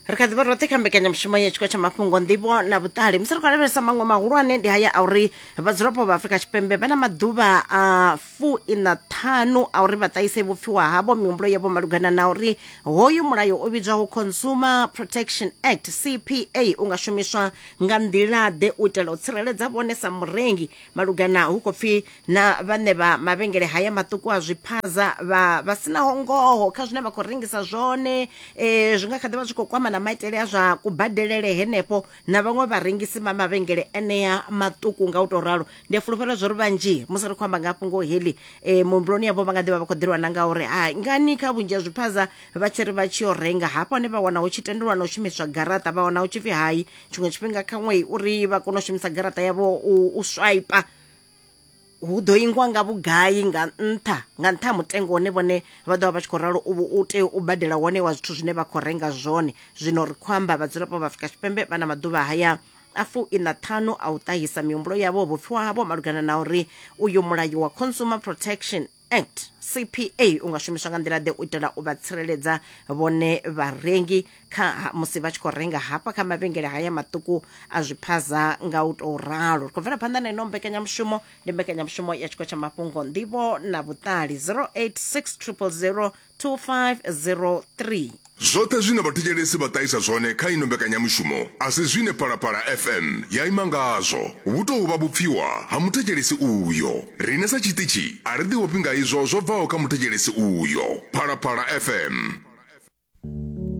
Ri kha ḓi vha roṱhe kha mbekanyamushumo ya tshiko tsha mafhungo, nḓivho na vhuṱali. Musi ri khou lavhelesa maṅwe mahulwane ndi haya a uri vhadzulapo vha Afrika Tshipembe vha na maḓuvha a 45 a uri vha ṱahise vhupfiwa havho, mihumbulo yavho malugana na uri hoyu mulayo u vhidzwaho Consumer Protection Act, CPA, u nga shumiswa nga nḓila-ḓe u itela u tsireledza vhone sa murengi malugana hu khou pfi na vhaṋe vha mavhengele haya maṱuku a zwiphaza vha vha sinaho ngoho kha zwine vha khou rengisa zwone. Zwi nga kha ḓi vha zwi khou kwama na maitele a zwa kubadelele henefho na vhaṅwe vharengisi vha mavhengele enea maṱuku. Nga u tou ralo ndi a fulufhela zwo ri vhanzhi musi ri khou amba nga fhungo heḽi, muhumbuloni yavho vha nga ḓi vha vha khou ḓilwa na nga uri ha ngani kha vhunzhi ha zwiphaza vha tshi ri vha tshi yo renga hafho hone vha wana hu tshi tendelwa na u shumiswa garaṱa, vha wana hu tshi pfi hai tshiṅwe tshifhinga khaṅwe uri vha kone u shumisa garaṱa yavho u swaipa hu ḓo ingwa nga vhugai nga nṱha nga nṱha ha mutengo wone vhone vha ḓo vha vha tshi khou ralo u tea u badela wone wa zwithu zwine vha khou renga zwone. Zwino ri khou amba vhadzulapo vha Afrika Tshipembe vha na maḓuvha haya a 45 a u ṱahisa mihumbulo yavho, vhupfiwa havho malugana na uri uyu mulayo wa Consumer Protection Act, CPA, u nga shumiswa nga nḓila ḓe u itela u vha tsireledza vhone vharengi kha musi vha tshi khou renga hafha kha mavhengele haya maṱuku a zwiphaza. Nga u tou ralo ri khou bvela phanḓa na ino mbekanyamushumo, ndi mbekanyamushumo ya tshiko tsha mafhungo, nḓivho na vhuṱali, 086 000 2503. Zwoṱhe zwine vhathetshelesi vha ṱahisa zwone kha ino mbekanyamushumo a si zwine Phalaphala FM ya ima ngazwo. Vhu tou vha vhupfiwa ha muthetshelesi uyo. Riṋe sa tshiṱitshi a ri ḓiofhi nga izwo zwo bvaho kha muthetshelesi uyo. Phalaphala FM.